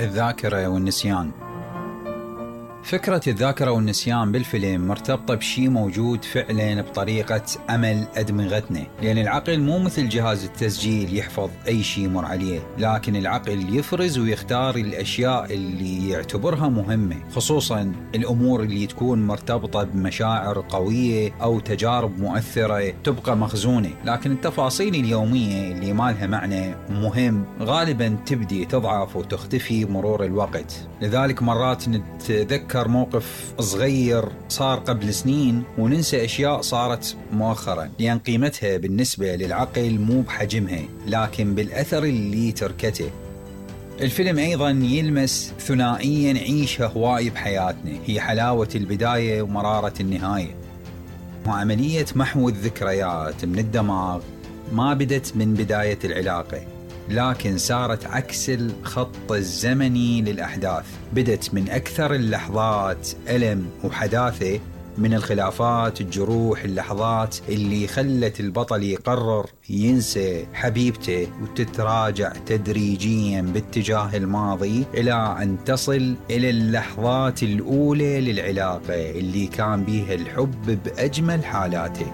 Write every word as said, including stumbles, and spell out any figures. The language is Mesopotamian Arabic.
الذاكرة والنسيان. فكرة الذاكرة والنسيان بالفيلم مرتبطة بشي موجود فعلا بطريقة عمل أدمغتنا، لأن العقل مو مثل جهاز التسجيل يحفظ أي شي يمر عليه، لكن العقل يفرز ويختار الأشياء اللي يعتبرها مهمة، خصوصا الأمور اللي تكون مرتبطة بمشاعر قوية أو تجارب مؤثرة تبقى مخزونة. لكن التفاصيل اليومية اللي ما لها معنى مهم غالبا تبدي تضعف وتختفي مرور الوقت. لذلك مرات نتذكر موقف صغير صار قبل سنين وننسى أشياء صارت مؤخرا، لأن قيمتها بالنسبة للعقل مو بحجمها لكن بالأثر اللي تركته. الفيلم أيضا يلمس ثنائيا نعيشها هواي بحياتنا، هي حلاوة البداية ومرارة النهاية. وعملية محو الذكريات من الدماغ ما بدت من بداية العلاقة، لكن سارت عكس الخط الزمني للأحداث، بدت من أكثر اللحظات ألم وحداثة، من الخلافات، الجروح، اللحظات اللي خلت البطل يقرر ينسى حبيبته وتتراجع تدريجيا باتجاه الماضي إلى أن تصل إلى اللحظات الأولى للعلاقة اللي كان بيها الحب بأجمل حالاته.